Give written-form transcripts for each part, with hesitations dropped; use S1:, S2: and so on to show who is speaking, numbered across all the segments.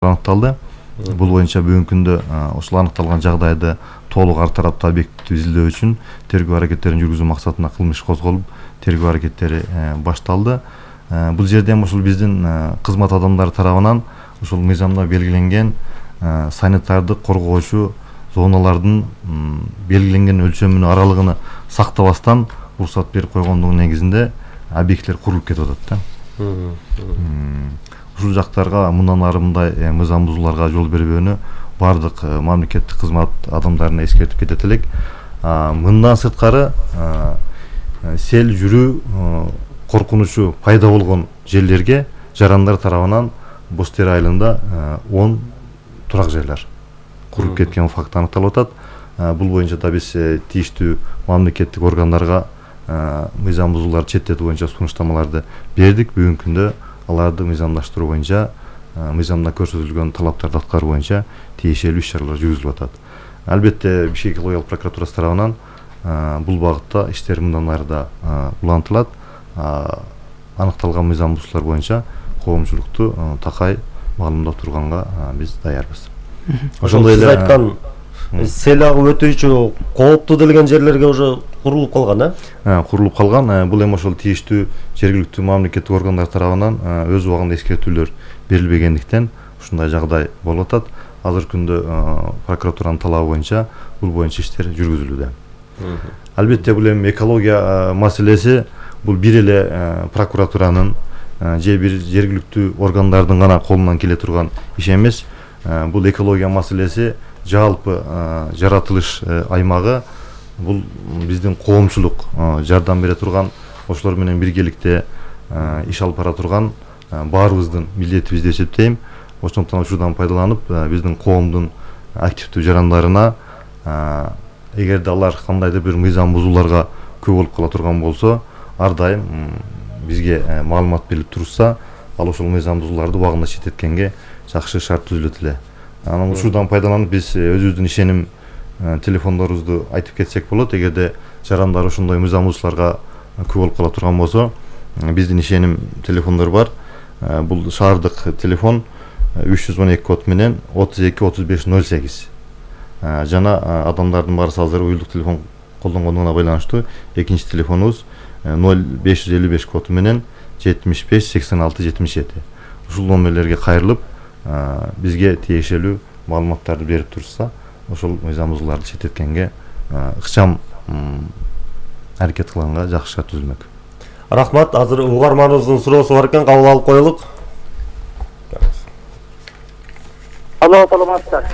S1: аныкталды. Бул боюнча бүгүнкү күндө ушул аныкталган жагдайды толук ар тараптуу объекттүү изилдөө үчүн тергөө аракеттерин жүргүзүү максатында кылмыш козголуп, тергөө аракеттери башталды. Бул жерден ушул биздин кызмат адамдары тарабынан ушул мыйзамда белгиленген санитардык коргоочу зоналардын белгиленген өлчөмүнү аралыгыны сактабастан уруксат берип койгондугунун негизинде объекттер курулуп кетип атат да. Ушул жактарга мындан ары мындай мыйзам бузууларга жол бербөөнү бардык мамлекеттик кызмат адамдарына эскертип кетет элек. Мындан сырткары сел жүрүү коркунучу пайда болгон жерлерге жарандар тарабынан Бостер айылында 10 турак жайлар куруп кеткен факт аныкталып атат. Бул боюнча да биз тийиштүү мамлекеттик органдарга мыйзам бузууларды четтетүү боюнча сунуштамаларды бердик. Бүгүнкү күндө аларды мыйзамдаштыруу боюнча, мыйзамда көрсөтүлгөн талаптарды аткаруу боюнча тиешелүү иш-чаралар жүргүзүлүп атат. Албетте Бишкек экологиялык прокуратурасы тарабынан бул багытта иштер мындан ары да улантылат. Аныкталган мыйзам бузуулар боюнча коомчулукту такай маалымдап турганга биз даярбыз.
S2: Ошондой эле айткан сел агып өтүүчү кооптуу делген жерлерге уже курулуп калган,
S1: курулуп калган. Бул эми ошол тийиштүү жергиликтүү мамлекеттик органдар тарабынан өз убагында эскертүүлөр берилбегендиктен ушундай жагдай болуп атат. Азыркы күндө прокуратуранын талабы боюнча бул боюнча иштер жүргүзүлүүдө. Албетте бул эми экология маселеси бул бир эле прокуратуранын же бир жергиликтүү органдардын гана колунан келе турган иш эмес. Бул экология маселеси жалпы жаратылыш аймагы, бул биздин коомчулук жардам бере турган, ошолор менен биргеликте иш алып бара турган баарыбыздын милдетибиз деп эсептейм. Ошондуктан ушудан пайдаланып биздин коомдун активдүү жарандарына эгерде алар кандайдыр бир мыйзам бузууларга күбө болуп кала турган болсо, ар дайым бизге маалымат берип турса, ал ошол мыйзам бузууларды убагында четтеткенге жакшы шарт түзүлөт эле. Анан ушудан пайдаланып биз өзүбүздүн ишеним телефондорубузду айтып кетсек болот. Эгерде жарандар ошондой мыйзам бузууларга күбө болуп кала турган болсо, биздин ишеним телефондор бар. Бул шаардык телефон 312 код менен 32 35 08. Жана адамдардын баарысы азыр уюлдук телефон колдонгондугуна байланыштуу экинчи телефонубуз 0555 коду менен 75 86 77. Ушул номерлерге кайрылып бизге тиешелүү маалыматтарды берип турса, ошол мыйзам бузууларды четтеткенге ыкчам аракет кылганга жакшы шарт түзүлмөк.
S2: Рахмат. Азыр угарманыбыздын суроосу бар экен, кабыл алып коелук.
S3: Алло, саламатсыздар.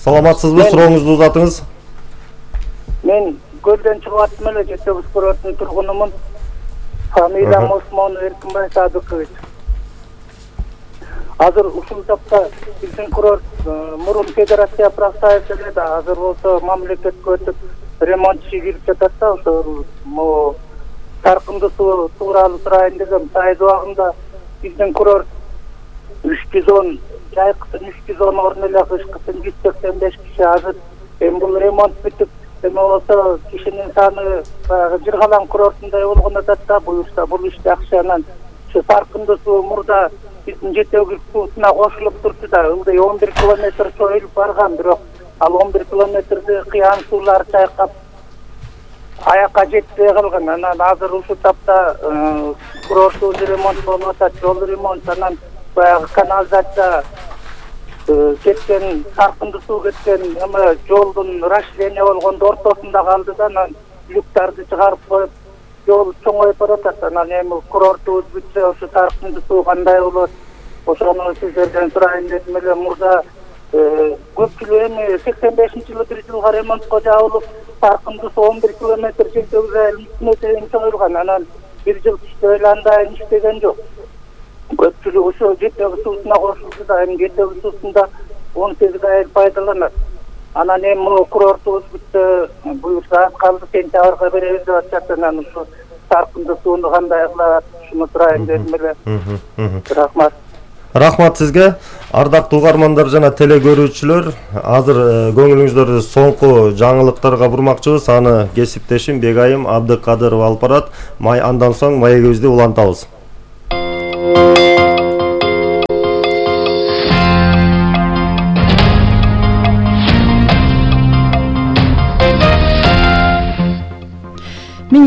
S2: Саламатсызбы? Сурооңузду узатыңыз.
S3: Мен көлдөн чыгып аттым эле, Жетөбүз курорттун тургунумун. Фамилиям Осмон Эркинбай Садыкович. Азыр ушул тапта биздин курорт мурун федерация Практаев эле, азыр болсо мамлекетке өтүп ремонт иши кирип жатат да. Ошол таркынды суу тууралуу сурайын дегем. Сайыз убагында биздин курорт 310 жайкысын 310 орун эле кышкысын 185 киши. Азыр эми бул ремонт бүтүп, эми болсо кишинин саны баягы Жыргалаң курортундай болгон атат да. Буюрса бул иш жакшы. Анан ушу таркынды суу мурда биздин Жетөбүз суусуна кошулуп турду да, ылдый 11 километр чоюлуп барган, бирок ал 11 километрди кыян суулар чайкап аякка жетпей калган. Анан азыр ушул тапта курорттун ремонт болуп атат, жол ремонт, анан баягы канализация кеткен, таркынды суу кеткен эме жолдун расширение болгондо ортосунда калды да. Анан люктарды чыгарып коюп жол чоңоюп баратат. Анан эми курортубуз бүтсө ошо таркынды суу кандай болот, ошону сиздерден сурайын дедим эле. Мурда көпчүлүк эми 85-жылы бир жылга ремонтко жабылып, таркынды суу 11 километр Жетөбүз айылына чейин чоюлган. Анан бир жыл иштеп эле андай иштеген жок. Көпчүлүк ошо Жетөбүз суусуна кошулду да, эми Жетөбүз суусунда 18 айыл пайдаланат. Анан эми курортубуз бүтсө, буюрса калды сентябрга беребиз деп атышат. Анан ушу таркынды сууну кандай кылат, ушуну сурайын дедим эле. Рахмат.
S2: Рахмат сизге. Ардактуу угармандар жана теле көрүүчүлөр, азыр көңүлүңүздөрдү соңку жаңылыктарга бурмакчыбыз. Аны кесиптешим Бегайым Абдыкадыров алып барат. Андан соң маегибизди улантабыз.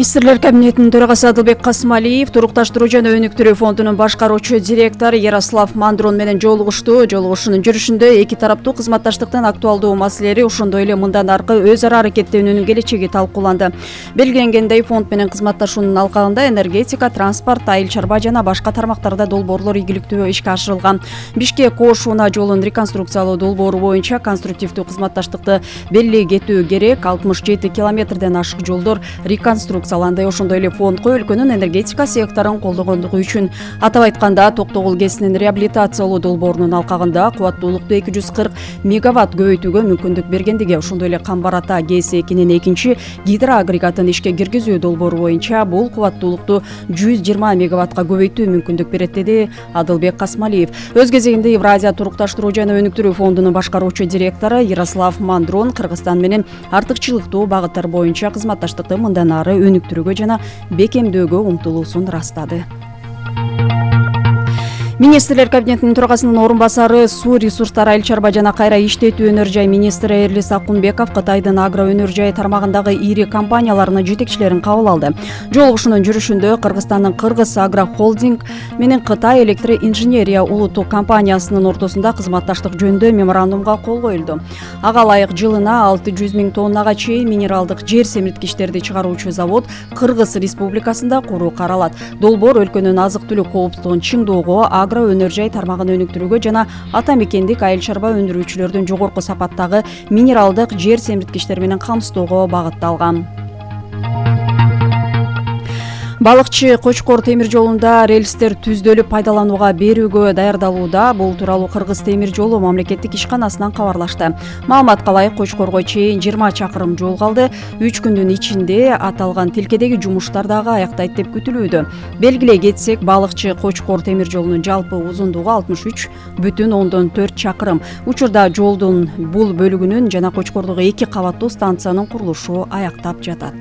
S4: Министрлер кабинетинин төрагасы Адылбек Касымалиев турукташтыруу жана өнүктүрүү фондунун башкаруучу директору Ярослав Мандрон менен жолугушту. Жолугушуунун жүрүшүндө эки тараптуу кызматташтыктын актуалдуу маселелери, ошондой эле мындан аркы өз ара аракеттенүүнүн келечеги талкууланды. Белгиленгендей, фонд менен кызматташуунун алкагында энергетика, транспорт, айыл чарба жана башка тармактарда долбоорлор ийгиликтүү ишке ашырылган. Бишкек-Ош-Унаа жолун реконструкциялоо долбоору боюнча конструктивдүү кызматташтыкты белгилей кетүү керек. 67 километрден ашык жолдор реконструкцияланды. Ошондой эле фондко өлкөнүн энергетика секторун колдогондугу үчүн, атап айтканда, Токтогул КЭСинин реабилитациялоо долбоорунун алкагында кубаттуулукту 240 мегаватт көбөйтүүгө мүмкүндүк бергендиги, ошондой эле Камбар Ата КЭС-2-нин экинчи гидроагрегатын ишке киргизүү долбоору боюнча бул кубаттуулукту 120 мегаваттка көбөйтүү мүмкүндүк берет, деди Адылбек Касымалиев. Өз кезегинде Евразия турукташтыруу жана өнүктүрүү фондунун башкаруучу директору Ярослав Мандрон Кыргызстан менен артыкчылыктуу багыттар боюнча кызматташтыкты мындан ары өнүктүрүүгө жана бекемдөөгө умтулуусун ырастады. Министрлер кабинетинин төрагасынын орун басары, суу ресурстары, айыл чарба жана кайра иштетүү өнөр жай министри Эрлис Акунбеков Кытайдын агро өнөр жай тармагындагы ири компанияларынын жетекчилерин кабыл алды. Жолугушуунун жүрүшүндө Кыргызстандын Кыргыз Агро Холдинг менен Кытай Электро Инженерия улуттук компаниясынын ортосунда кызматташтык жөнүндө меморандумга кол коюлду. Ага ылайык жылына 600 000 тоннага чейин минералдык жер семирткичтерди чыгаруучу завод Кыргыз Республикасында куруу каралат. Долбоор өлкөнүн азык-түлүк коопсуздугун чыңдоого, агро өнөр жай тармагын өнүктүрүүгө жана ата мекендик айыл чарба өндүрүүчүлөрдүн жогорку сапаттагы минералдык жер семирткичтер менен камсыздоого багытталган. Балыкчы Кочкор темир жолунда рельстер түздөлүп пайдаланууга берүүгө даярдалууда. Бул тууралуу Кыргыз темир жолу мамлекеттик ишканасынан кабарлашты. Маалыматка ылайык, Кочкорго чейин 20 чакырым жол калды. 3 күндүн ичинде аталган тилкедеги жумуштар дагы аяктайт деп күтүлүүдө. Белгилей кетсек, Балыкчы Кочкор темир жолунун жалпы узундугу 63,4 чакырым. Учурда жолдун бул бөлүгүнүн жана Кочкордогу 2 кабаттуу станциянын курулушу аяктап жатат.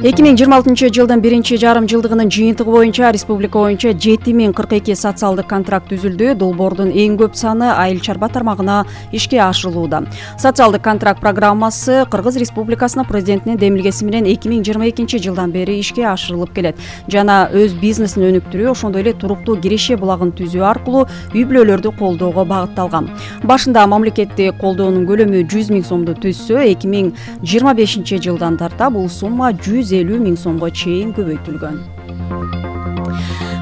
S4: 2026 жылдын биринчи жарым жылдыгынын жыйынтыгы боюнча республика боюнча 7042 социалдык контракт түзүлдү. Долбоордун эң көп саны айыл чарба тармагына ишке ашырылууда. Социалдык контракт программасы Кыргыз Республикасынын президентинин демилгеси менен 2022 жылдан бери ишке ашырылып келет. Жана өз бизнесин өнүктүрүү, ошондой эле туруктуу киреше булагын түзүү аркылуу үй бүлөлөрдү колдоого багытталган. Башында мамлекеттик колдоонун көлөмү 100 000 сомду түзсө, 2025 жылдан тарта бул сумма 150 000 сомго чейин көбөйтүлгөн.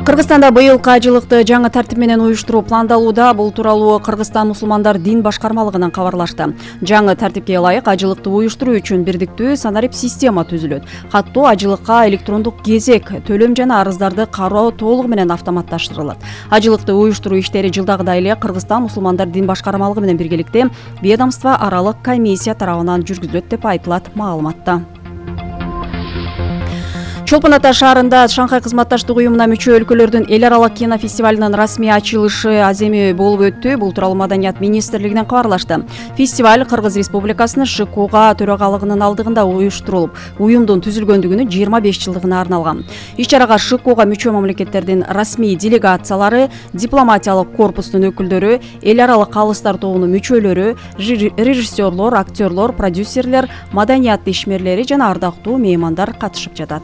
S4: Кыргызстанда быйылкы ажылыкты жаңы тартип менен уюштуруу пландалууда. Бул тууралуу Кыргызстан мусулмандар дин башкармалыгынан кабарлашты. Жаңы тартипке ылайык ажылыкты уюштуруу үчүн бирдиктүү санарип система түзүлөт. Каттоо ажылыкка электрондук кезек, төлөм жана арыздарды кароо толугу менен автоматташтырылат. Ажылыкты уюштуруу иштери жылдагыдай эле Кыргызстан мусулмандар дин башкармалыгы менен биргеликте ведомство аралык комиссия тарабынан жүргүзүлөт деп айтылат маалыматта. Чолпон Ата шаарында Шанхай кызматташтык уюмуна мүчө өлкөлөрдүн эл аралык кинофестивалынын расмий ачылышы аземи болуп өттү. Бул тууралуу Маданият министрлигинен кабарлашты. Фестиваль Кыргыз Республикасынын ШКУга төрагалыгынын алдыгында уюштурулуп, уюмдун түзүлгөндүгүнүн 25 жылдыгына арналган. Иш-чарага ШКУга мүчө мамлекеттердин расмий делегациялары, дипломатиялык корпустун өкүлдөрү, эл аралык калыстар тобунун мүчөлөрү, режиссерлор, актерлор, продюсерлер, маданият ишмерлери жана ардактуу меймандар катышып жатат.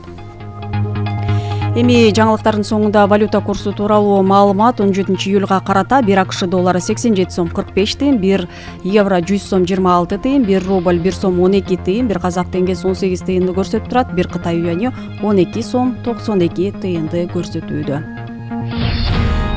S4: Эми жаңылыктардын соңунда валюта курсу тууралуу маалымат. 17 июлга карата 1 АКШ доллары 87 сом 45 тыйын, 1 евро 100 сом 26 тыйын, 1 рубль 1 сом 12 тыйын, 1 казак теңгеси 18 тыйынды көрсөтүп турат, 1 Кытай юаньы 12 сом 92 тыйынды көрсөтүүдө.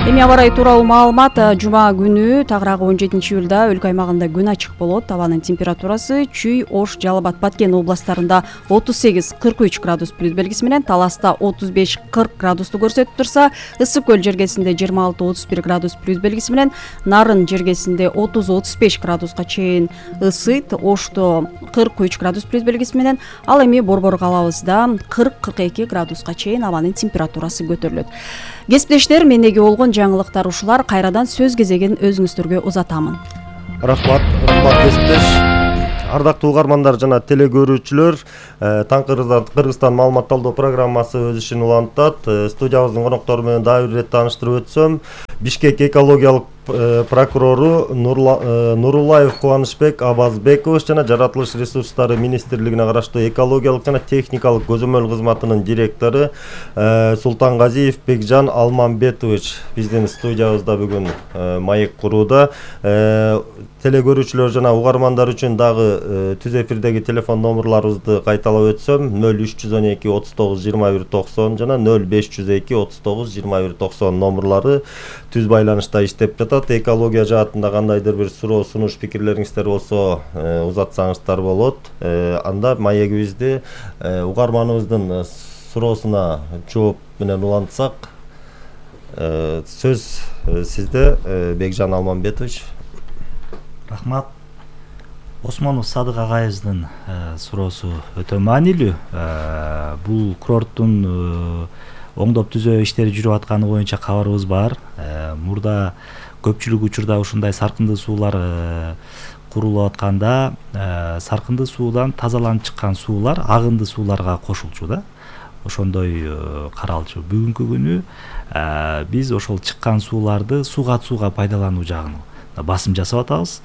S4: Эми аба ырайы тууралуу маалымат. Жума күнү тагыраагы 17 июлда өлкө аймагында күн ачык болот. Абанын температурасы Чүй, Ош, Жалал Абад, Баткен областарында 38-43 градус плюс белгиси менен, Таласта 35-40 градусту көрсөтүп турса, Ысык көл жергесинде 26-31 градус плюс белгиси менен, Нарын жергесинде 30-35 градуска чейин ысыйт, Ошто 43 градус плюс белгиси менен, ал эми Борбор калабызда 40-42 градуска чейин абанын температурасы көтөрүлөт. Кесиптештер, мендеги болгон жаңылыктар ушулар. Кайрадан сөз кезегин өзүңүздөргө узатамын.
S2: Рахмат кесиптеш. Ардактуу угармандар жана телекөрүүчүлөр, Кыргызстан маалымат талдоо программасы өз ишин улантат. Студиябыздын коноктору менен дагы бир ирет тааныштырып өтсөм, Бишкек экологиялык прокурору Нурулаев Кубанычбек Абазбекович жана Жаратылыш ресурстары министрлигине караштуу экологиялык жана техникалык көзөмөл кызматынын директору Султангазиев Бекжан Алмамбетович биздин студиябызда бүгүн маек курууда. Телекөрүүчүлөр жана угармандар үчүн дагы түз эфирдеги телефон номерларыбызды кайталап өтсөм 0312 39 21 90 жана 0502 39 21 90 номерлары түз байланышта иштеп жатат. Экология жаатында кандайдыр бир суроо сунуш пикирлериңиздер болсо узатсаңыздар болот. Анда маегибизди угарманыбыздын суроосуна жооп менен улантсак, сөз сизде, Бекжан Алмамбетович.
S5: Рахмат. Осмонов Садык агайыбыздын суроосу өтө маанилүү. Бул курорттун оңдоп түзөө иштери жүрүп атканы боюнча кабарыбыз бар. Мурда көпчүлүк учурда ушундай саркындуу суулар курулуп атканда саркындуу суудан тазаланып чыккан суулар агынды сууларга кошулчу да. Ошондой каралчу. Бүгүнкү күнү биз ошол чыккан сууларды сууга пайдалануу жагын басым жасап атабыз.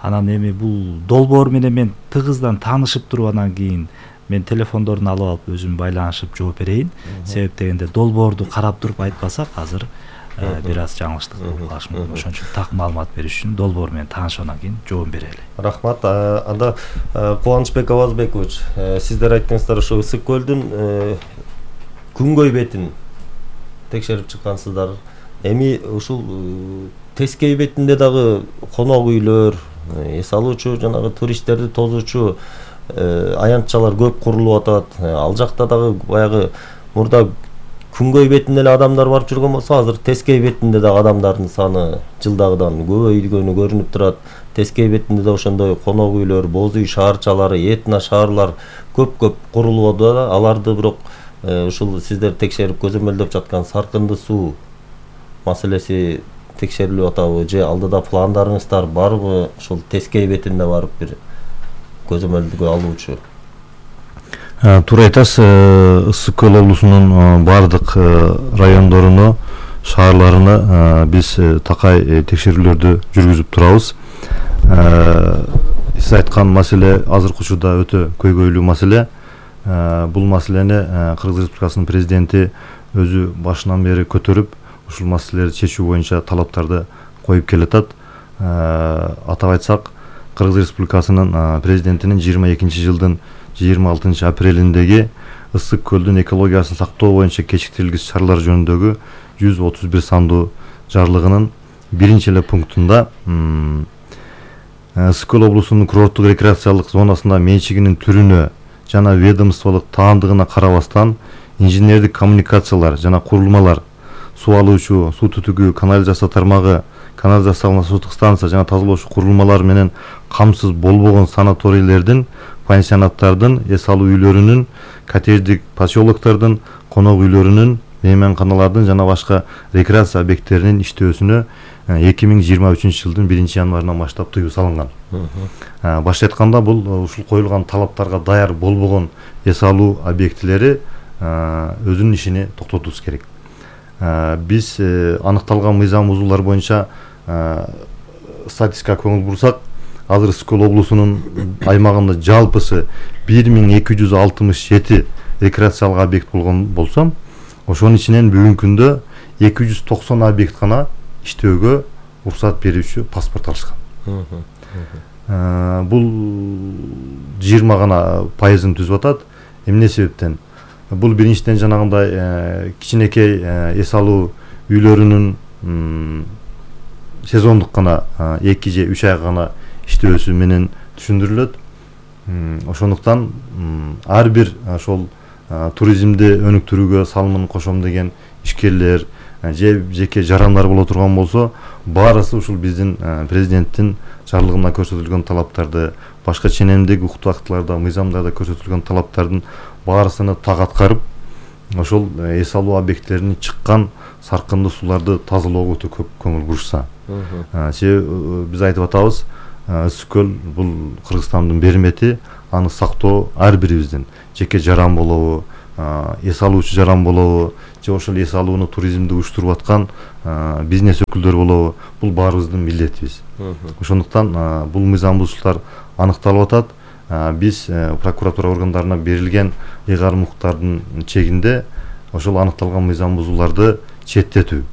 S5: Анан эми бул долбоор менен мен тыгыздан таанышып туруп анан кийин мен телефондорун алып алып өзүм байланышып жооп берейин. Себеп дегенде долбоорду карап туруп айтпасак азыр бир аз жаңылыштык болуп калышы мүмкүн. Ошон үчүн так маалымат бериш үчүн долбоор менен таанышып анан кийин жооп берели.
S2: Рахмат. Анда Кубанычбек Абазбекович, сиздер айттыңыздар ошо Ысык көлдүн күнгөй бетин текшерип чыккансыздар. Эми ушул тескей бетинде дагы конок үйлөр, эс алуучу жанагы туристтерди тозуучу аянтчалар көп курулуп атат. Ал жакта дагы баягы мурда күнгөй бетинде эле адамдар барып жүргөн болсо, азыр тескей бетинде дагы адамдардын саны жылдагыдан көбөйгөнү көрүнүп турат. Тескей бетинде да ошондой конок үйлөр, боз үй шаарчалары, этно шаарлар көп курулуп атат. Аларды бирок ушул сиздер текшерип көзөмөлдөп жаткан саркынды суу маселеси текшерилип атабы же алдыда пландарыңыздар барбы ушул тескей бетинде барып бир көзөмөлгө алуучу?
S1: Туура айтасыз. Ысык көл облусунун бардык райондоруну, шаарларына биз такай текшерүүлөрдү жүргүзүп турабыз. Сиз айткан маселе азыркы учурда өтө көйгөйлүү маселе. Бул маселени Кыргыз Республикасынын президенти өзү башынан бери көтөрүп, ушул маселелерди чечүү боюнча талаптарды коюп келатат. Атап айтсак, Кыргыз Республикасынын президентинин 22-жылдын 26 апрелиндеги Ысык көлдүн экологиясын сактоо боюнча кечиктирилгис чаралар жөнүндөгү 131 сандуу жарлыгынын 1-эле пунктунда Ысык көл облусунун курорттук рекреациялык зонасында менчигинин түрүнө жана ведомстволук таандыгына карабастан инженердик коммуникациялар жана курулмалар, суу алуучу, суу түтүгү, канализация тармагы, канализациялык сутук станция жана тазалоочу курулмалар менен камсыз болбогон санаторийлердин, пансионаттардын, эс алуу үйлөрүнүн, коттедждик поселоктордун, конок үйлөрүнүн, мейманканалардын жана башка рекреация объекттеринин иштөөсүнө 2023-жылдын 1-январынан баштап тыюу салынган. Башка айтканда, бул ушул коюлган талаптарга даяр болбогон эс алуу объектилери өзүнүн ишини токтотуш керек. Биз аныкталган мыйзам бузуулар боюнча статистикага көңүл бурсак, азыр Ысык көл облусунун аймагында жалпысы 1267 рекреациялык объект болгон болсо, ошонун ичинен бүгүнкү күндө 290 объект гана иштөөгө уруксат берүүчү паспорт алышкан. Бул 20 гана пайызын түзүп атат. Эмне себептен? Бул биринчиден жанагындай кичинекей эс алуу үйлөрүнүн сезондук гана 2 же 3 ай гана иштөөсү менен түшүндүрүлөт. Ошондуктан ар бир ошол туризмди өнүктүрүүгө салымын кошом деген ишкерлер же жеке жарандар боло турган болсо, баарысы ушул биздин президенттин жарлыгында көрсөтүлгөн талаптарды, башка ченемдик укуктуу актыларда, мыйзамдарда көрсөтүлгөн талаптардын баарысына так аткарып, ошол эс алуу объекттеринин чыккан саркынды сууларды тазалоого өтө көп көңүл бурушса. Себеби биз айтып атабыз, Ысык көл бул Кыргызстандын бермети, аны сактоо ар бирибиздин жеке жаран болобу, эс алуучу жаран болобу же ошол эс алууну туризмди уюштуруп аткан бизнес өкүлдөрү болобу, бул баарыбыздын милдетибиз. Ошондуктан бул мыйзам бузуштар аныкталып атат. Биз прокуратура органдарына берилген ыйгарым укуктардын чегинде ошол аныкталган мыйзам бузууларды четтетүү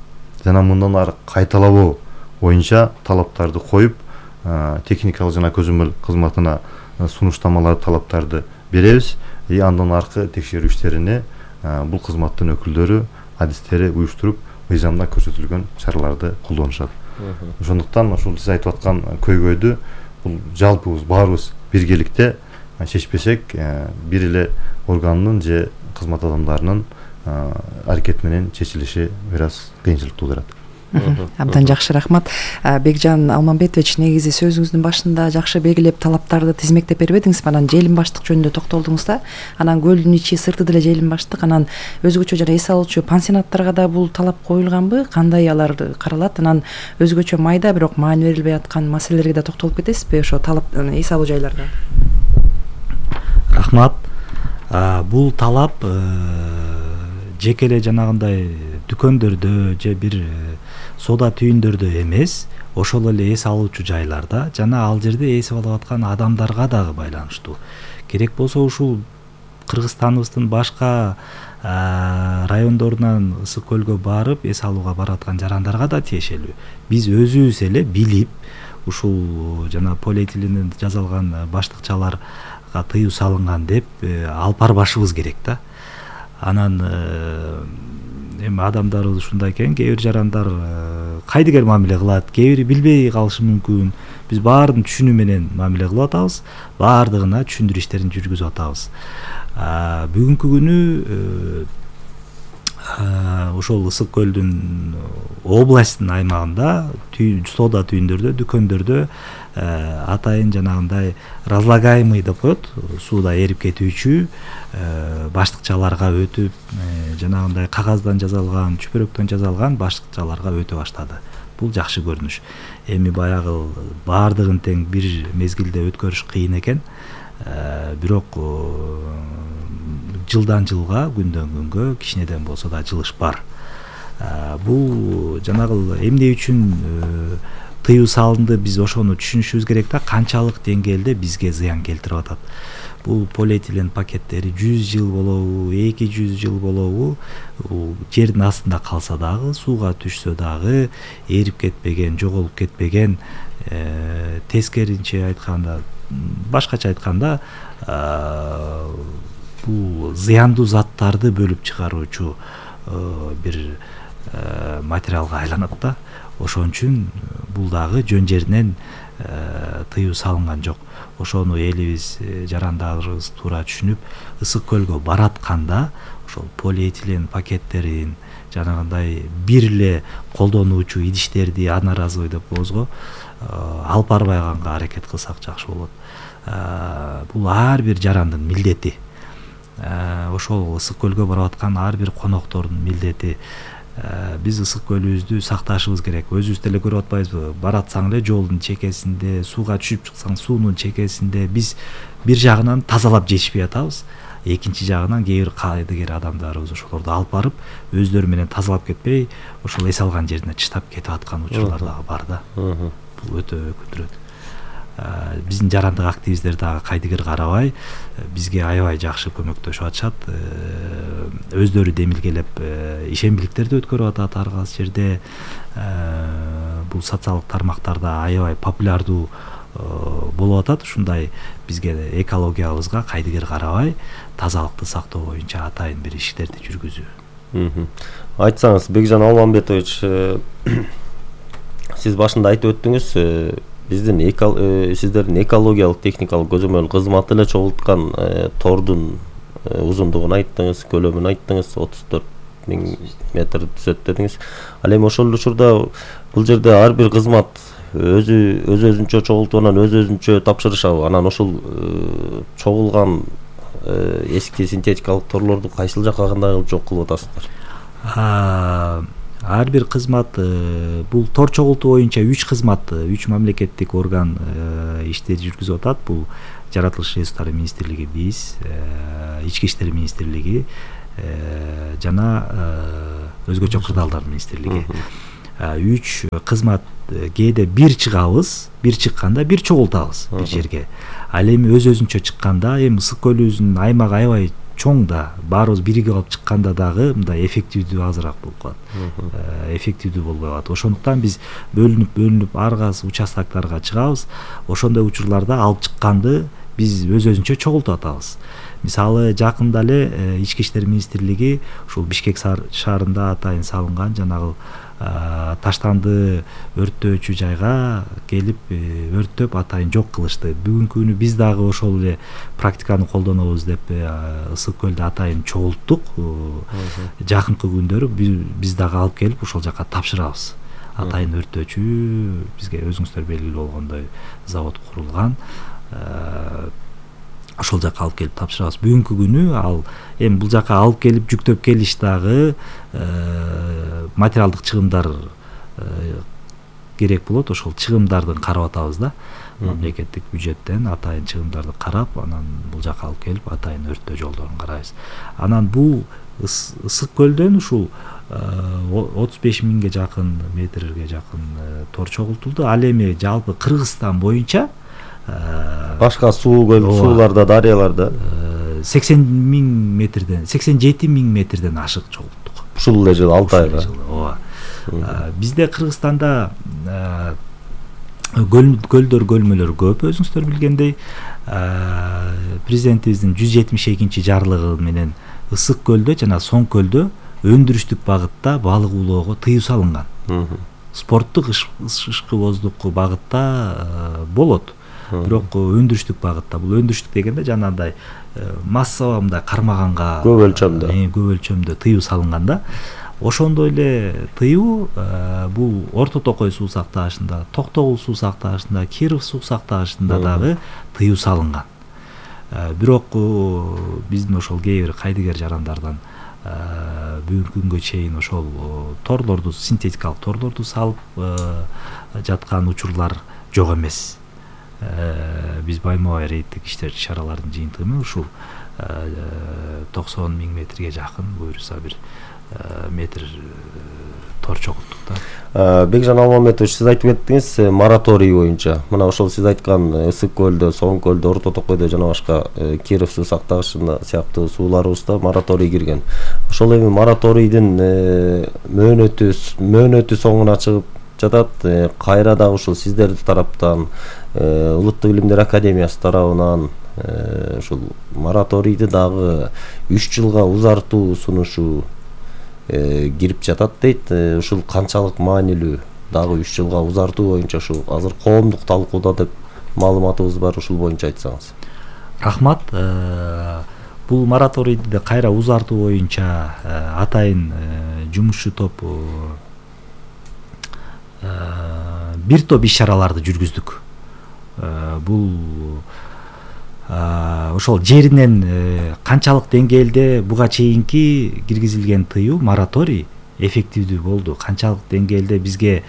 S1: жана мындан ары кайталабоо боюнча талаптарды коюп, техникалык жана көзөмөл кызматына сунуштамалар, талаптарды беребиз. Андан аркы текшерүү иштерине бул кызматтын өкүлдөрү адистери уюштуруп, мыйзамда көрсөтүлгөн чараларды колдонушат. Ошондуктан ошол сиз айтып аткан көйгөйдү бул жалпыбыз баарыбыз биргеликте чечпесек, бир эле органдын же кызмат адамдарынын аракети менен чечилиши бир аз кыйынчылык туудурат.
S6: Абдан жакшы, рахмат. Бекжан Алмамбетович, негизи сөзүңүздүн башында жакшы белгилеп талаптарды тизмектеп бербедиңиз, анан желим баштык жөнүндө токтолдуңуз да. Анан көлдүн ичи сырты деле желим баштык, анан өзгөчө жана эс алуучу пансионаттарга да бул талап коюлганбы? Кандай алар каралат? Анан өзгөчө майда бирок маани берилбей аткан маселелерге да токтолуп кетесизби ошо талап эс алуу жайларда?
S5: Рахмат. Бул талап жеке эле жанагындай дүкөндөрдө же бир соода түйүндөрдө эмес, ошол эле эс алуучу жайларда жана ал жерде эсип алып аткан адамдарга дагы байланыштуу. Керек болсо ушул Кыргызстаныбыздын башка райондорунан Ысык көлгө барып эс алууга бараткан жарандарга да тиешелүү. Биз өзүбүз эле билип, ушул жана полиэтиленден жасалган баштыкчаларга тыюу салынган деп алып барбашыбыз керек да. Анан эми адамдарыбыз ушундай экен, кээ бир жарандар кайдыгер мамиле кылат, кээ бири билбей калышы мүмкүн. Биз баарын түшүнүү менен мамиле кылып атабыз, баардыгына түшүндүрүү иштерин жүргүзүп атабыз. Бүгүнкү күнү ошол Ысык көлдүн областтын аймагында соода түйүндөрдө, дүкөндөрдө атайын жанагындай разлагаемый деп коет, сууда эрип кетүүчү баштыкчаларга өтүп, жанагындай кагаздан жасалган, чүпөрөктөн жасалган баштыкчаларга өтө баштады. Бул жакшы көрүнүш. Эми баягы баардыгын тең бир мезгилде өткөрүш кыйын экен. Бирок жылдан жылга, күндөн күнгө кичинеден болсо да жылыш бар. Бул жанагы эмне үчүн тыюу салынды, биз ошону түшүнүшүбүз керек да, канчалык деңгээлде бизге зыян келтирип атат. Бул полиэтилен пакеттери 100 жыл болобу, 200 жыл болобу, жердин астында калса дагы, сууга түшсө дагы эрип кетпеген, жоголуп кетпеген, тескеринче айтканда, башкача айтканда, бул зыяндуу заттарды бөлүп чыгаруучу бир материалга айланат да. Ошон үчүн бул дагы жөн жеринен тыюу салынган жок. Ошону элибиз, жарандарыбыз туура түшүнүп, Ысык көлгө баратканда ошол полиэтилен пакеттерин, жанагындай бир эле колдонуучу идиштерди, одноразовый деп коебуз го, алып барбайганга аракет кылсак жакшы болот. Бул ар бир жарандын милдети. Ошол Ысык көлгө барып аткан ар бир коноктордун милдети. Биз Ысык көлүбүздү сакташыбыз керек. Өзүбүз деле көрүп атпайбызбы? Баратсаң эле жолдун чекесинде, сууга түшүп чыксаң суунун чекесинде биз бир жагынан тазалап жетишпей атабыз. Экинчи жагынан кээ бир кайдыгер адамдарыбыз ошолорду алып барып, өздөрү менен тазалап кетпей, ошол эс алган жерине чыштап кетип аткан учурлар дагы бар да. Бул өтө өкүндүрөт. Биздин жарандык активисттер дагы кайдыгер карабай, бизге аябай жакшы көмөктөшүп атышат. Өздөрү демилгелеп ишембиликтерди өткөрүп атат ар кайсы жерде. Бул социалдык тармактарда аябай популярдуу болуп атат. Ушундай бизге экологиябызга кайдыгер карабай, тазалыкты сактоо боюнча атайын бир иштерди жүргүзүү.
S2: Айтсаңыз, Бекжан Алмамбетович, сиз башында айтып өттүңүз, сиздердин экологиялык техникалык көзөмөл кызматы эле чогулткан тордун узундугун айттыңыз, көлөмүн айттыңыз, 34.000 метр түзөт дедиңиз. Ал эми ошол учурда бул жерде ар бир кызмат өзүнчө чогултуп, анан өзүнчө тапшырышабы? Анан ошол чогулган эски синтетикалык торлорду кайсыл жакка кандай кылып жок кылып атасыздар?
S5: Ар бир кызмат, бул тор чогултуу боюнча 3 кызмат, 3 мамлекеттик орган иштер жүргүзүп атат. Бул жаратылыш ресурстары министрлиги, биз, Ички иштер министрлиги, жана өзгөчө кырдаалдар министрлиги. 3 кызмат кээде бир чыгабыз, бир чыкканда бир чогултабыз бир жерге. Ал эми өзүнчө чыкканда, эми Ысык көлүбүздүн аймагы аябай чоң да, баарыбыз биригип алып чыкканда дагы мындай эффективдүү азыраак болуп калат. Эффективдүү болбой калат. Ошондуктан биз бөлүнүп ар кайсы участоктарга чыгабыз. Ошондой учурларда алып чыкканды биз өзүнчө чогултуп атабыз. Мисалы жакында эле Ички иштер министрлиги ушул Бишкек шаарында атайын салынган жанагы таштанды өрттөөчү жайга келип өрттөп атайын жок кылышты. Бүгүнкү күнү биз дагы ошол эле практиканы колдонобуз деп Ысык көлдө атайын чогулттук. Жакынкы күндөрү биз дагы алып келип ошол жака тапшырабыз. Атайын өрттөөчү бизге өзүңүздөр белгилүү болгондой завод курулган. Ошол жака алып келип тапшырабыз. Бүгүнкү күнү ал эми бул жака алып келип жүктөп келиш дагы материалдык чыгымдар керек болот. Ошол чыгымдарды карап атабыз да. Мамлекеттик бюджеттен атайын чыгымдарды карап, анан бул жака алып келип атайын өрттөө жолдорун карайбыз. Анан бул Ысык көлдөн ушул 35 миңге жакын метрге жакын тор чогултулду. Ал эми жалпы Кыргызстан боюнча
S2: башка сууларда, дарыяларда
S5: 80 миң метрден, 87 миң метрден ашык чогулттук.
S2: Ушул эле жыл 6 айга.
S5: Ооба. Бизде Кыргызстанда көлдөр, көлмөлөр көп, өзүңүздөр билгендей. Президентибиздин 172-чи жарлыгы менен Ысык көлдө жана Соң көлдө өндүрүштүк багытта балык улоого тыюу салынган. Спорттук ышкыбоздук багытта болот. Бирок өндүрүштүк багытта, бул өндүрүштүк дегенде жанагындай массалуу мындай кармаганга көп өлчөмдө тыюу салынган да. Ошондой эле тыюу бул Орто Токой суу сактагычында, Токтогул суу сактагычында, Киров суу сактагычында дагы тыюу салынган. Бирок биздин ошол кээ бир кайдыгер жарандардан бүгүнкү күнгө чейин ошол торлорду, синтетикалык торлорду салып жаткан учурлар жок эмес. Биз байма-бай рейдтик иш-чаралардын жыйынтыгы менен ушул 90 миң метрге жакын буюрса бир метр тор чогулттук да.
S2: Бекжан Алмамбетович, сиз айтып кеттиңиз мораторий боюнча. Мына ошол сиз айткан Ысык көлдө, Соң көлдө, Орто Токойдо жана башка Киров суу сактагычында сыяктуу сууларыбызда мораторий кирген. Ошол эми мораторийдин мөөнөтү соңуна чыгып жатат. Кайра дагы ушул сиздердин тараптан, Улуттук илимдер академиясы тарабынан ушул мораторийди дагы 3 жылга узартуу сунушу кирип жатат дейт. Ушул канчалык маанилүү? Дагы 3 жылга узартуу боюнча ушул азыр коомдук талкууда деп маалыматыбыз бар, ушул боюнча айтсаңыз.
S5: Рахмат. Бул мораторийди кайра узартуу боюнча атайын жумушчу топ бир топ иш-чараларды жүргүздүк. Бул ошол жеринен канчалык деңгээлде буга чейинки киргизилген тыюу, мораторий эффективдүү болду, канчалык деңгээлде бизге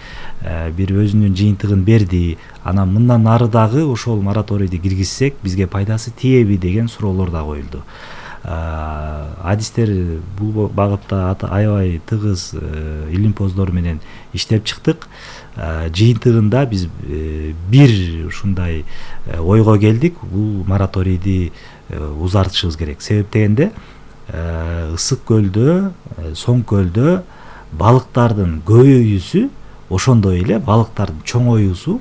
S5: бир өзүнүн жыйынтыгын берди, анан мындан ары дагы ошол мораторийди киргизсек бизге пайдасы тиеби деген суроолор да коюлду. Адистер бул багытта аябай тыгыз илимпоздор менен иштеп чыктык. Жыйынтыгында биз бир ушундай ойго келдик, бул мораторийди узартышыбыз керек. Себеп дегенде Ысык көлдө, Соң көлдө балыктардын көбөйүүсү, ошондой эле балыктардын чоңоюусу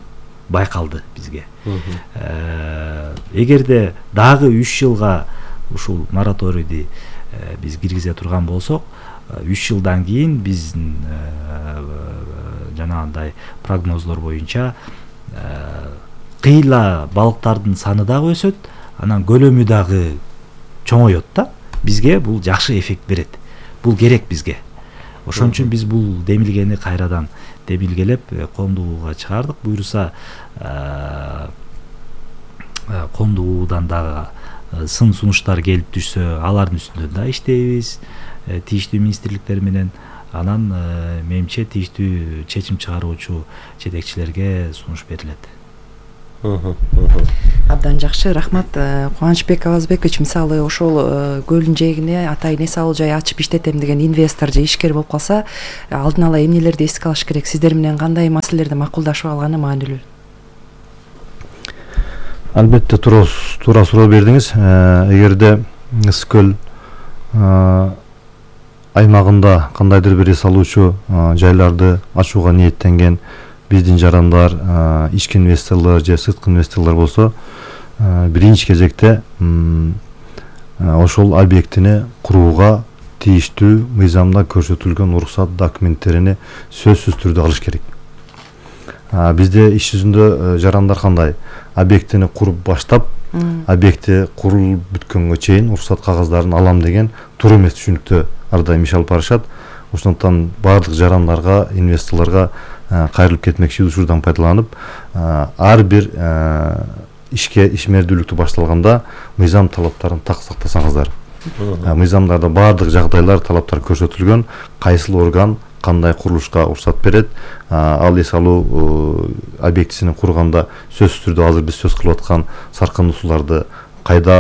S5: байкалды бизге. Эгерде дагы 3 жылга ушул мораторийди биз киргизе турган болсок, 3 жылдан кийин биздин жанагындай прогноздор боюнча кыйла балыктардын саны дагы өсөт, анан көлөмү дагы чоңойот да. Бизге бул жакшы эффект берет. Бул керек бизге. Ошон үчүн биз бул демилгени кайрадан демилгелеп коомдугууга чыгардык. Буюрса коомдугуудан дагы сын сунуштар келип түшсө, алардын үстүндө да иштейбиз, тийиштүү министрликтер менен. Анан менимче тийиштүү чечим чыгаруучу жетекчилерге сунуш берилет.
S6: Абдан жакшы, рахмат. Кубанычбек Авазбекович, мисалы ошол көлдүн жээгине атайын эс алуу жай ачып иштетем деген инвестор же ишкер болуп калса, алдын ала эмнелерди эске алыш керек? Сиздер менен кандай маселелерди макулдашып алганы маанилүү?
S1: Албетте туура суроо бердиңиз. Эгерде Ысык көл аймагында кандайдыр бир эс алуучу жайларды ачууга ниеттенген биздин жарандар, ички инвесторлор же сырткы инвесторлор болсо, биринчи кезекте ошол объектини курууга тийиштүү мыйзамда көрсөтүлгөн уруксат документтерини сөзсүз түрдө алыш керек. Бизде иш жүзүндө жарандар кандай? Объектини куруп баштап, объекти курулуп бүткөнгө чейин уруксат кагаздарын алам деген туура эмес түшүнүктө ар дайым иш алып барышат. Ошондуктан баардык жарандарга, инвесторлорго кайрылып кетмекчи учурдан пайдаланып, ар бир ишмердүүлүктү башталганда мыйзам талаптарын так сактасаңыздар. Мыйзамдарда баардык жагдайлар, талаптар көрсөтүлгөн, кайсыл орган кандай курулушка уруксат берет, ал эс алуу объектисин курганда сөзсүз түрдө азыр биз сөз кылып аткан саркындуу сууларды кайда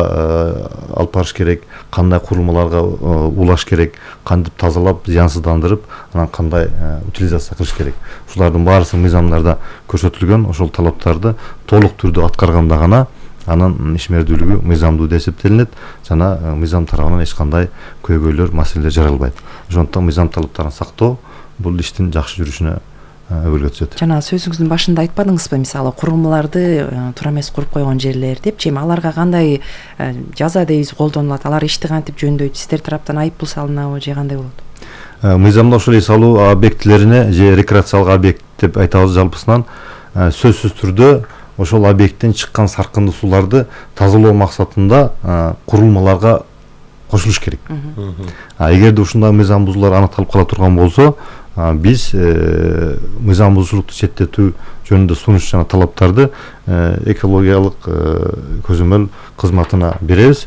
S1: алып барыш керек, кандай курулмаларга улаш керек, кантип тазалап, зыянсыздандырып, анан кандай утилизация кылыш керек. Ушулардын баарысы мыйзамдарда көрсөтүлгөн. Ошол талаптарды толук түрдө аткарганда гана анын ишмердүүлүгү мыйзамдуу деп эсептелинет жана мыйзам тарабынан эч кандай көйгөйлөр, маселелер жаралбайт. Ошондуктан мыйзам талаптарын сактоо бул иштин жакшы жүрүшүнө өбөлгө түзөт.
S6: Жана сөзүңүздүн башында айтпадыңызбы, мисалы курулмаларды туура эмес куруп койгон жерлер депчи, эми аларга кандай жаза дейбиз колдонулат? Алар ишти кантип жөндөйт? Сиздер тараптан айыппул салынабы же кандай болот?
S1: Мыйзамда ошол эс алуу объектилерине же рекреациялык объект деп айтабыз жалпысынан, сөзсүз түрдө ошол объекттен чыккан саркындуу сууларды тазалоо максатында курулмаларга кошулуш керек. Эгерде ушундай мыйзам бузуулар аныкталып кала турган болсо, биз мыйзам бузуучулукту четтетүү жөнүндө сунуш жана талаптарды экологиялык көзөмөл кызматына беребиз.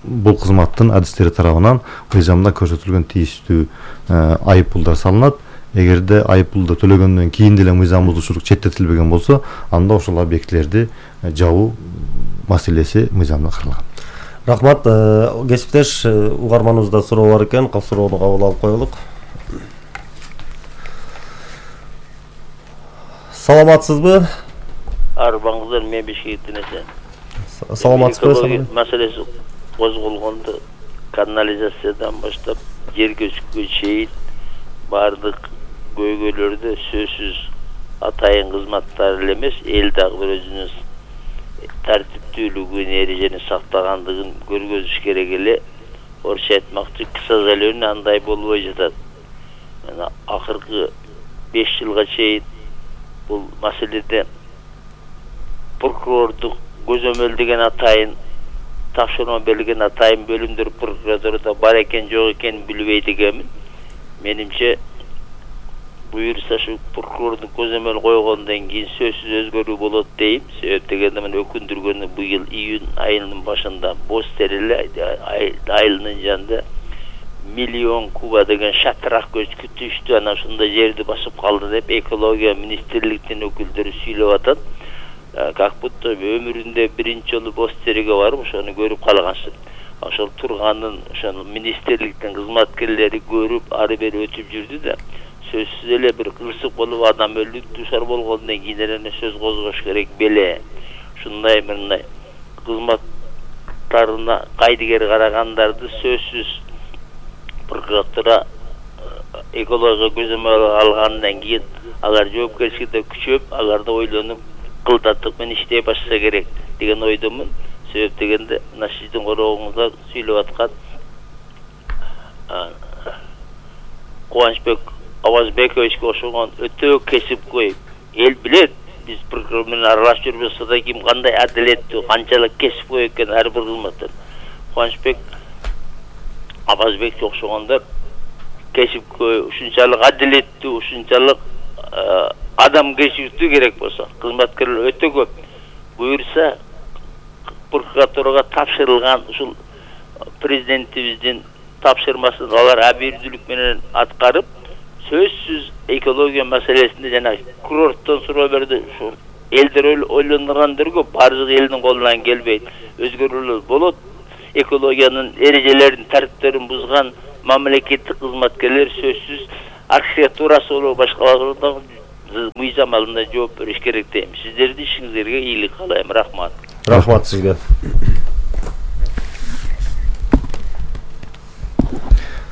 S1: Бул кызматтын адистери тарабынан мыйзамда көрсөтүлгөн тийиштүү айыппулдар салынат. Эгерде айыппулду төлөгөндөн кийин деле мыйзам бузуучулук четтетилбеген болсо, анда ошол объектилерди жабуу маселеси мыйзамда каралган.
S2: Рахмат. Кесиптеш, угарманыбызда суроо бар экен, суроону кабыл алып коелук. Саламатсызбы?
S7: Арбаңыздар, мен Бишкектен эсен.
S2: Саламатсызбы?
S7: Маселеси козголгондо канализациядан баштап жер көчкүгө чейин баардык көйгөйлөрдү сөзсүз атайын кызматтар эле эмес, эл дагы бир өзүнүн тартиптүүлүгүн, эрежени сактагандыгын көргөзүш керек эле. Орусча айтмакчы, к сожалению, андай болбой жатат. Мына акыркы 5 жылга чейин бул маселеде прокурордук көзөмөлдөгөн атайын тапшырма берилген атайын бөлүмдөр прокуратурада бар экен, жок экен билбейт экенмин. Менимче буюрса шу прокурордун көзөмөл койгондон кийин сөзсүз өзгөрүү болот дейм. Себеп дегенде мен өкүндүргөнү быйыл июнь айынын башында Бостереле айылынын жанында 1 миллион куба деген шатырак көч күтүштү, анан ушундай жерди басып калды деп экология министрликтин өкүлдөрү сүйлөп атат. Как будто өмүрүндө биринчи жолу Бостереге барып ошону көрүп калгансын. Ошол турганын ошол министрликтин кызматкерлери көрүп, ары бери өтүп жүрдү да, сөзсүз эле бир кырсык болуп адам өлүп душар болгондон кийин эле сөз козгош керек беле. Ушундай мындай кызматтарына кайдыгер карагандарды сөзсүз прокуратура экология көзөмөл алгандан кийин алар жоопкерчиликте күчөп, аларды ойлонуп кылдаттык менен иштей башса керек деген ойдомун. Себеп дегенде мына сиздин короогуңузда сүйлөп аткан Кубанычбек Авазбековичке ошонгон өтө кесипкөй эл билет. Биз прокурор менен аралашып жүрбөсө да ким кандай адилеттүү, канчалык кесипкөй экен ар бир кызматтан. Кубанычбек Авазбекке окшогондор кесипкөй, ушунчалык адилеттүү, ушунчалык адамгерчиликтүү керек болсо, кызматкерлер өтө көп. Буюрса прокуратурага тапшырылган ушул президентибиздин тапшырмасын алар абийирдүүлүк менен аткарып, сөзсүз экология маселесинде жана курорттон суроо берди. Ушул элдер ойлонгондор көп, баардык элдин колунан келбейт. Өзгөрүүлөр болот. Экологиянын эрежелерин, тартиптерин бузган мамлекеттик кызматкерлер сөзсүз архитектурасы болобу башкаларда мыйзам алдында жооп бериш керек дейм. Сиздердин ишиңизге ийгилик каалайм. Рахмат.
S2: Рахмат сизге.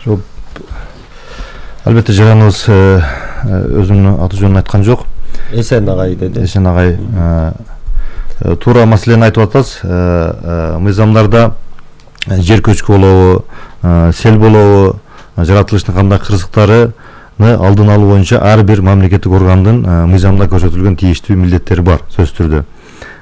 S1: Жоп. Албетте жыганыбыз өзүнүн аты жөнүн айткан жок.
S2: Эсен агай деди.
S1: Эсен агай туура маселени айтып атасыз. Мыйзамдарда жер көчкү болобу, сел болобу, жаратылыштын кандай кырсыктарыны алдын алуу боюнча ар бир мамлекеттик органдын мыйзамда көрсөтүлгөн тийиштүү милдеттери бар сөзсүз түрдө.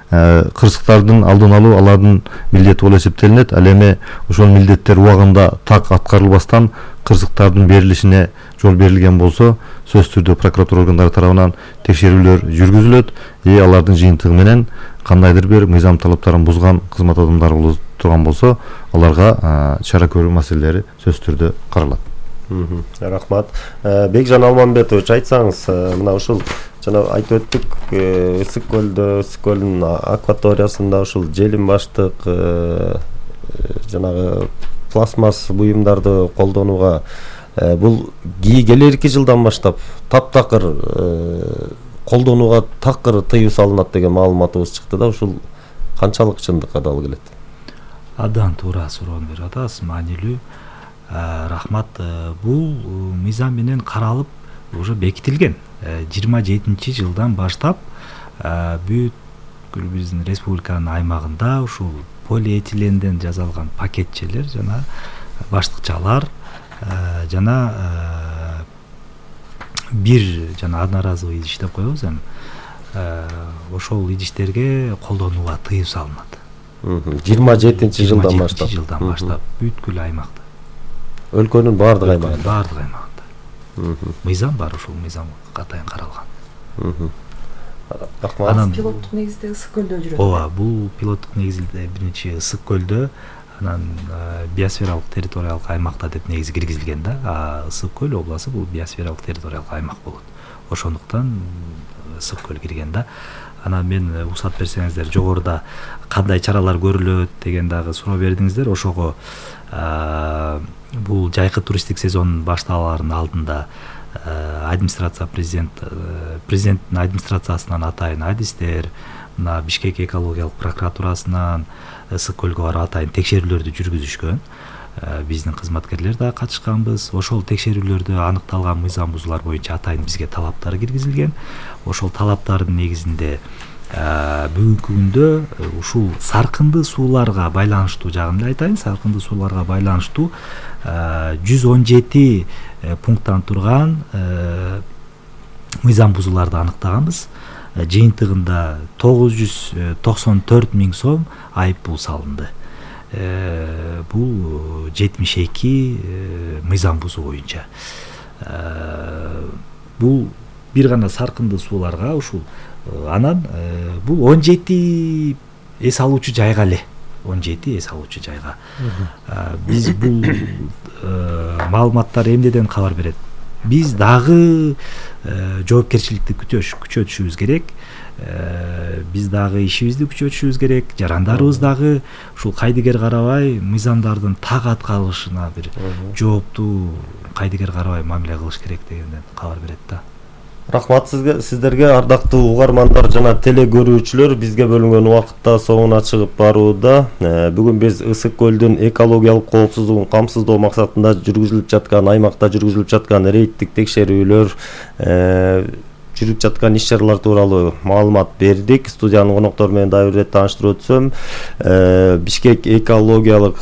S1: Кырсыктардын алдын алуу алардын милдети болуп эсептелинет. Ал эми ошол милдеттер убагында так аткарылбастан кырсыктардын берилишине жол берилген болсо, сөзсүз түрдө прокуратура органдары тарабынан текшерүүлөр жүргүзүлөт. Алардын жыйынтыгы менен кандайдыр бир мыйзам талаптарын бузган кызмат адамдары болуп турган болсо, аларга чара көрүү маселелери сөзсүз түрдө каралат.
S2: Рахмат. Бекжан Алманбетович, айтсаңыз, мына ушул жана айтып өттүк, Ысык көлдүн акваториясында ушул желим баштык жанагы пластмасс буюмдарды колдонууга бул келерки жылдан баштап таптакыр колдонууга такыр тыюу салынат деген маалыматыбыз чыкты да, ушул канчалык чындыкка дал келет?
S5: Абдан туура суроону берип атасыз, маанилүү. Рахмат. Бул мыйзам менен каралып уже бекитилген. 27 жылдан баштап бүткүл биздин республиканын аймагында ушул полиэтиленден жасалган пакетчелер жана баштыкчалар жана бир жана одноразовый идиш деп коебуз эми. Ошол идиштерге колдонууга тыюу салынат.
S2: 27 жылдан баштап.
S5: 27 жылдан баштап бүткүл аймакта.
S2: Өлкөнүн баардык аймагында.
S5: Баардык аймагында. Мыйзам бар, ошол мыйзам катайын каралган.
S2: Анан
S6: пилоттук негизде Ысык көлдө жүрөт.
S5: Ооба, бул пилоттук негизде биринчи Ысык көлдө, анан биосфералык территориялык аймакта деп негизи киргизилген да. Ысык көл областы бул биосфералык территориялык аймак болот. Ошондуктан Ысык көл кирген да. Анан мен уруксат берсеңиздер, жогоруда кандай чаралар көрүлөт деген дагы суроо бердиңиздер. Ошого бул жайкы туристтик сезон башталаарынын алдында администрация президенттин администрациясынан атайын адистер, мына Бишкек экологиялык прокуратурасынан Ысык көлгө барып атайын текшерүүлөрдү жүргүзүшкөн. Биздин кызматкерлер да катышканбыз. Ошол текшерүүлөрдө аныкталган мыйзам бузуулар боюнча атайын бизге талаптар киргизилген. Ошол талаптардын негизинде бүгүнкү күндө ушул саркынды сууларга байланыштуу жагын эле айтайын. Саркынды сууларга байланыштуу 117 пункттан турган мыйзам бузууларды аныктаганбыз. Жыйынтыгында 994 000 сом айып пул салынды. Бул 72 мыйзам бузуу боюнча. Бул бир гана саркынды сууларга ушул. Анан бул 17 эс алуучу жайга эле. 17 эс алуучу жайга. Биз бул маалыматтар эмнеден кабар берет? Биз дагы жоопкерчиликти күчөтүшүбүз керек. Биз дагы ишибизди күчөтүшүбүз керек. Жарандарыбыз дагы ушул кайдыгер карабай мыйзамдардын так аткарылышына бир жооптуу кайдыгер карабай мамиле кылыш керек дегенден кабар берет да.
S2: Рахмат сиздерге, ардактуу угармандар жана теле көрүүчүлөр. Бизге бөлүнгөн убакытта соңуна чыгып барууда. Бүгүн биз Ысык көлдүн экологиялык коопсуздугун камсыздоо максатында жүргүзүлүп жаткан аймакта жүргүзүлүп жаткан рейдтик текшерүүлөр, жүрүп жаткан иш-чаралар тууралуу маалымат бердик. Студиянын коноктору менен дагы бир тааныштырып өтсөм, Бишкек экологиялык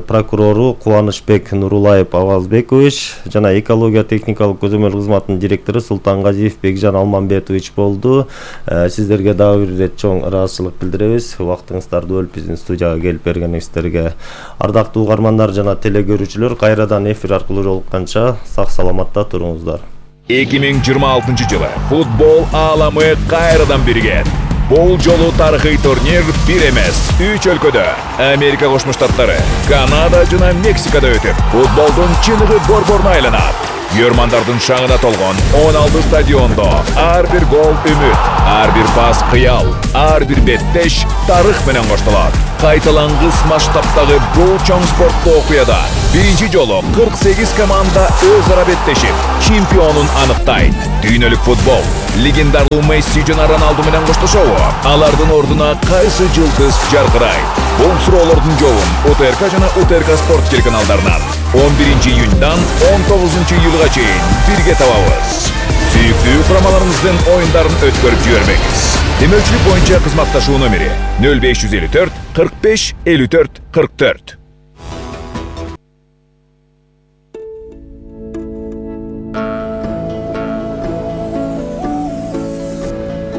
S2: прокурору Кубанычбек Нурулаев Авазбекович жана экология техникалык көзөмөл кызматынын директору Султангазиев Бекжан Алманбетович болду. Сиздерге дагы бир ирет чоң ыраазычылык билдиребиз. Убактыңыздарды бөлүп биздин студияга келип бергениңиздерге. Ардактуу угармандар жана теле көрүүчүлөр, кайрадан эфир аркылуу жолукканча сак саламатта туруңуздар.
S8: 2026 жылы футбол ааламы кайрадан биригет. Бул жолу тарыхый турнир бир эмес, 3 өлкөдө Америка Кошмо Штаттары, Канада жана Мексикада өтүп, футболдун чыныгы борборуна айланат. Йөрмандардын шаңына толгон 16 стадиондо ар бир гол үмүт, ар бир пас кыял, ар бир беттеш тарых менен коштолот. Кайталангыс масштабтагы бул чоң спорттуу окуяда биринчи жолу 48 команда өз ара беттешип, чемпионун аныктайт. Дүйнөлүк футбол легендарлуу Месси жана Роналду менен коштошобу? Алардын ордуна кайсы жылдыз жаркырайт? Бул суроолордун жообун УТРК жана УТРК спорт телеканалдарынан 11 июньдан 19 июлга чейин бирге табабыз. Сүйүктүү курамаларыңыздын оюндарын өткөрүп жибермеңиз. Демөөлчүлүк боюнча кызматташуу номери 0554 45 54 44.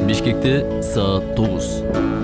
S9: Бишкекте саат 9.